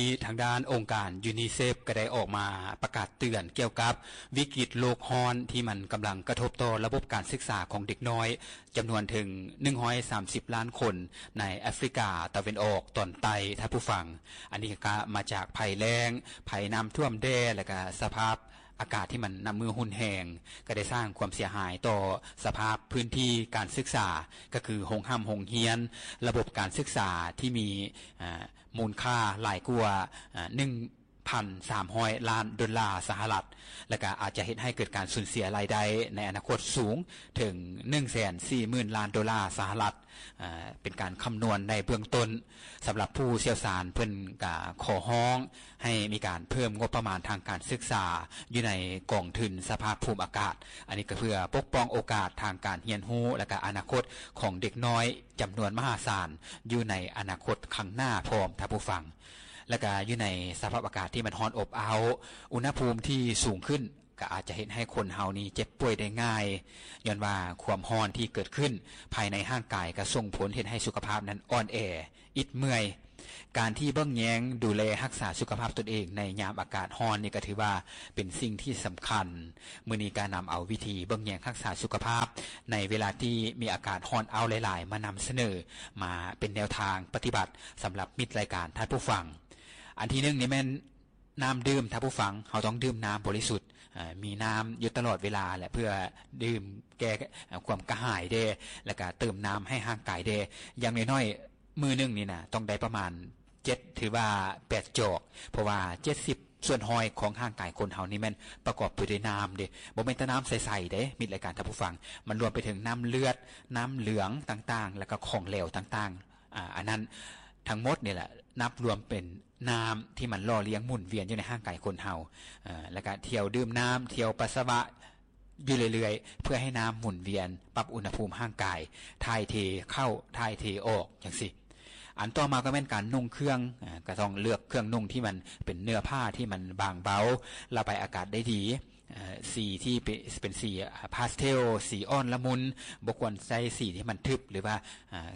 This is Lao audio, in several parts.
ນີ້ທາງດ້ານອົງການຢູນິເຊັບກໍໄດ້ອອກມາປະກາດເຕືອນກ່ຽວກັບວິກິດໂລກຮ້ອນທີ່ມັນກຳລັງກະທົບຕໍ່ລະບົບການສຶກສາຂອງເດັກນ້ອຍຈຳນວນເຖິງໜຶ່ງຮ້ອຍສາມສິບລ້ານຄົນໃນແອຟຣິກາຕາເວັນອອກຕອນໃຕ້. ທ່ານຜູ້ຟັງ, ອັນນີ້ກໍມາຈາກໄພແລ້ງ, ໄພນ້ຳຖ້ວມແດ່ ແລະກະສະພາບອາກາດທີ່ມັນນັບມື້ຮຸນແຮງ ກໍໄດ້ສ້າງຄວາມເສຍຫາຍຕໍ່ສະພາບພື້ນທີ່ການສຶກສາ ກໍຄືໂຮງຮ່ຳໂຮງຮຽນ, ລະບົບການສຶກສາທີ່ມີ ອາ ມູນຄ່າຫຼາຍກວ່າ ອາ ໜຶ່ງພັນສາມຮ້ອຍລ້ານໂດລາສະຫະລັດ ແລະກະອາດຈະເຮັດໃຫ້ເກີດການສູນເສຍລາຍໄດ້ໃນອະນາຄົດສູງເຖິງໜຶ່ງແສນສີ່ໝື່ນລ້ານໂດລາສະຫະລັດ. ອາ ເປັນການຄຳນວນໃນເບື້ອງຕົ້ນ. ສຳລັບຜູ້ຊ່ຽວຊານເພິ່ນກະຂໍຮ້ອງໃຫ້ມີການເພີ່ມງົບປະມານທາງການສຶກສາຢູ່ໃນກອງທຶນສະພາບພູມອາກາດ. ອັນນີ້ກໍເພື່ອປົກປ້ອງໂອກາດທາງການຮຽນຮູ້ ແລະກະອະນາຄົດຂອງເດັກນ້ອຍຈຳນວນມະຫາສານຢູ່ໃນອະນາຄົດຂ້າງໜ້າພ້ອມ, ທ່ານຜູ້ຟັງ. ແລະກະຢູ່ໃນສະພາບອາກາດທີ່ມັນຮ້ອນອົບອ້າວ, ອຸນຫະພູມທີ່ສູງຂຶ້ນ ກໍອາດຈະເຮັດໃຫ້ຄົນເຮົານີ້ເຈັບປ່ວຍໄດ້ງ່າຍ, ຍ້ອນວ່າຄວາມຮ້ອນທີ່ເກີດຂຶ້ນພາຍໃນຮ່າງກາຍກໍສົ່ງຜົນເຮັດໃຫ້ສຸຂະພາບນັ້ນອ່ອນແອ, ອິດເມື່ອຍ. ການທີ່ເບິ່ງແຍງດູແລຮັກສາສຸຂະພາບຕົນເອງໃນຍາມອາກາດຮ້ອນນີ້ກໍຖືວ່າເປັນສິ່ງທີ່ສຳຄັນ. ມື້ນີ້ກໍນຳເອົາວິທີເບິ່ງແຍງຮັກສາສຸຂະພາບໃນເວລາທີ່ມີອາກາດຮ້ອນອ້າວຫຼາຍໆ ມານຳສະເໜີ ມາເປັນແນວທາງປະຕິບັດສຳລັບມິດລາຍການ, ທ່ານຜູ້ຟັງ. ອັນທີໜຶ່ງນີ້ແມ່ນ ນ້ຳດື່ມ, ທ່ານຜູ້ຟັງ, ເຮົາຕ້ອງດື່ມນ້ຳບໍລິສຸດ, ເອີ ມີນ້ຳຢູ່ຕະຫຼອດເວລາແຫຼະ ເພື່ອດື່ມແກ້ ເອີ ຄວາມກະຫາຍແດ່ ແລ້ວກະເຕີມນ້ຳໃຫ້ຮ່າງກາຍແດ່. ຢ່າງໜ້ອຍໆ ມື້ໜຶ່ງນີ້ນະ ຕ້ອງໄດ້ປະມານເຈັດ ຫຼືວ່າແປດຈອກ, ເພາະວ່າເຈັດສິບສ່ວນຮ້ອຍຂອງຮ່າງກາຍຄົນເຮົານີ້ແມ່ນປະກອບໄປດ້ວຍນ້ຳເດ້, ບໍ່ແມ່ນແຕ່ນ້ຳໃສໆເດ້ ມິດລາຍການ, ທ່ານຜູ້ຟັງ, ມັນລວມໄປເຖິງນ້ຳເລືອດ, ນ້ຳເຫຼືອງຕ່າງໆ ແລ້ວກໍຂອງເຫຼວຕ່າງໆ. ອາ ອັນນັ້ນທັງໝົດນີ້ແຫຼະ ນັບລວມເປັນນ້ຳທີ່ມັນຫຼໍ່ລ້ຽງໝູນວຽນຢູ່ໃນຮ່າງກາຍຄົນເຮົາ, ເອີ ແລ້ວກະທ່ຽວດື່ມນ້ຳ, ທ່ຽວປັດສະວະຢູ່ເລື້ອຍໆ ເພື່ອໃຫ້ນ້ຳໝູນວຽນ, ປັບອຸນຫະພູມຮ່າງກາຍ, ຖ່າຍເທເຂົ້າ, ຖ່າຍເທອອກ ຈັ່ງຊີ້. ອັນຕໍ່ມາກໍແມ່ນການນຸ່ງເຄື່ອງ, ເອີ ກໍຕ້ອງເລືອກເຄື່ອງນຸ່ງທີ່ມັນເປັນເນື້ອຜ້າທີ່ມັນບາງເບົາ, ລະບາຍອາກາດໄດ້ດີ. ເອີ ສີທີ່ເປ-, ເປັນສີ ອາ ພາສເທວ, ສີອ່ອນລະມຸນ, ບໍ່ຄວນໃຊ້ສີທີ່ມັນທຶບ ຫຼືວ່າ ອາ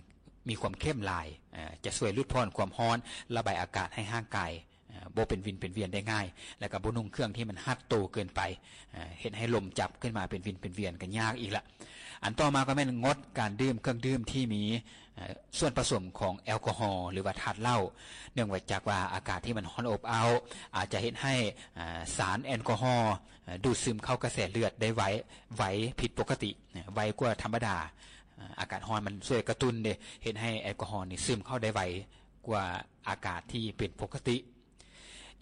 ມີຄວາມເຂັ້ມຫຼາຍ, ອາ ຈະຊ່ວຍຫຼຸດຜ່ອນຄວາມຮ້ອນ, ລະບາຍອາກາດໃຫ້ຮ່າງກາຍ ອາ ບໍ່ເປັນວິນເປັນວຽນໄດ້ງ່າຍ, ແລ້ວກໍບໍ່ນຸ່ງເຄື່ອງທີ່ມັນຮັດໂຕເກີນໄປ, ອາ ເຮັດໃຫ້ລົມຈັບຂຶ້ນມາເປັນວິນເປັນວຽນກໍຍາກອີກລະ. ອັນຕໍ່ມາກໍແມ່ນງົດການດື່ມເຄື່ອງດື່ມທີ່ມີ ເອີ ສ່ວນປະສົມຂອງແອລກໍຮໍ ຫຼືວ່າທາດເຫຼົ້າ, ເນື່ອງມາຈາກວ່າອາກາດທີ່ມັນຮ້ອນອົບອ້າວ ອາດຈະເຮັດໃຫ້ ອາ ສານແອລກໍຮໍ ເອີ ດູດຊຶມເຂົ້າກະແສເລືອດໄດ້ໄວ, ໄວຜິດປົກກະຕິ, ໄວກວ່າທຳມະດາ. ອາ ອາກາດຮ້ອນມັນຊ່ວຍກະຕຸ້ນເດ້, ເຮັດໃຫ້ແອລກໍຮໍນີ້ຊຶມເຂົ້າໄດ້ໄວກວ່າອາກາດທີ່ເປັນປົກກະຕິ.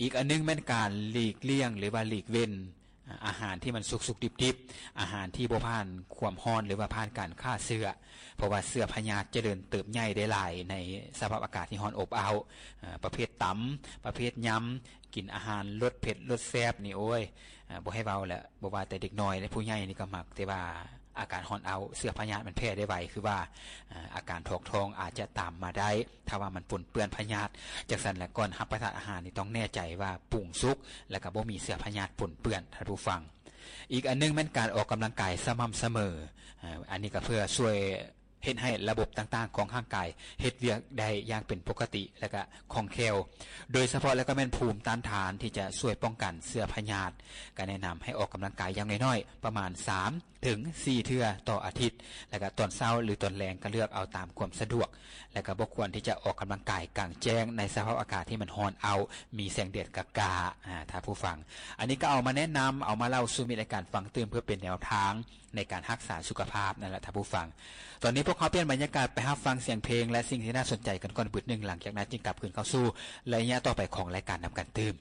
ອີກອັນໜຶ່ງແມ່ນການຫຼີກລ່ຽງ ຫຼືວ່າຫຼີກເວັ້ນ ອາ ອາຫານທີ່ມັນສຸກໆດິບໆ, ອາຫານທີ່ບໍ່ຜ່ານຄວາມຮ້ອນ ຫຼືວ່າຜ່ານການຂ້າເຊື້ອ, ເພາະວ່າເຊື້ອພະຍາດຈະເລີນເຕີບໃຫຍ່ໄດ້ຫຼາຍໃນສະພາບອາກາດທີ່ຮ້ອນອົບອ້າວ. ອາ ປະເພດຕຳ, ປະເພດຍຳ, ກິນອາຫານລົດເຜັດລົດແຊບນີ້ ໂອ້ຍ ອາ ບໍ່ໃຫ້ເວົ້າແຫຼະ, ບໍ່ວ່າແຕ່ເດັກນ້ອຍເດ້, ຜູ້ໃຫຍ່ນີ້ກໍມັກ. ແຕ່ວ່າອາກາດຮ້ອນອ້າວ ເຊື້ອພະຍາດມັນແຜ່ໄດ້ໄວ, ຄືວ່າ ອາ ອາການຖອກທ້ອງອາດຈະຕາມມາໄດ້ ຖ້າວ່າມັນປົນເປື້ອນພະຍາດ. ຈັ່ງຊັ້ນແຫຼະ, ກ່ອນຮັບປະທານອາຫານນີ້ ຕ້ອງແນ່ໃຈວ່າປຸງສຸກ ແລ້ວກໍບໍ່ມີເຊື້ອພະຍາດປົນເປື້ອນ, ທ່ານຜູ້ຟັງ. ອີກອັນໜຶ່ງແມ່ນການອອກກຳລັງກາຍສະໝ່ຳສະເໝີ, ອາ ອັນນີ້ກໍເພື່ອຊ່ວຍ ເຮັດໃຫ້ລະບົບຕ່າງໆຂອງຮ່າງກາຍເຮັດວຽກໄດ້ຢ່າງເປັນປົກກະຕິ ແລະກະຄ່ອງແຄ້ວ, ໂດຍສະເພາະແລ້ວກໍແມ່ນພູມຕ້ານທານທີ່ຈະຊ່ວຍປ້ອງກັນເຊື້ອພະຍາດ. ກະແນະນຳໃຫ້ອອກກຳລັງກາຍຢ່າງໜ້ອຍໆປະມານສາມເຖິງສີ່ເທື່ອຕໍ່ອາທິດ, ແລະກະຕອນເຊົ້າ ຫຼື ຕອນແລງກໍເລືອກເອົາຕາມຄວາມສະດວກ, ແລະກະບໍ່ຄວນທີ່ຈະອອກກຳລັງກາຍກາງແຈ້ງໃນສະພາບອາກາດທີ່ມັນຮ້ອນອ້າວ ມີແສງແດດກະໆ, ອາ ທ່ານຜູ້ຟັງ. ອັນນີ້ກໍເອົາມາແນະນຳ, ເອົາມາເລົ່າສູ່ມິດລາຍການຟັງຕື່ມ ເພື່ອເປັນແນວທາງ ໃນການຮັກສາສຸຂະພາບນັ້ນລະ ທ່ານຜູ້ຟັງ. ຕອນນີ້ພວກເຮົາປ່ຽນບັນຍາກາດໄປຮັບຟັງສຽງເພງ ແລະ ສິ່ງທີ່ໜ້າສົນໃຈກັນກ່ອນບຶດໜຶ່ງ, ຫຼັງຈາກນັ້ນຈຶ່ງກັບຄືນເຂົ້າສູ່ໄລຍະຕໍ່ໄປຂອງລາຍການນຳກັນຕື່ມ.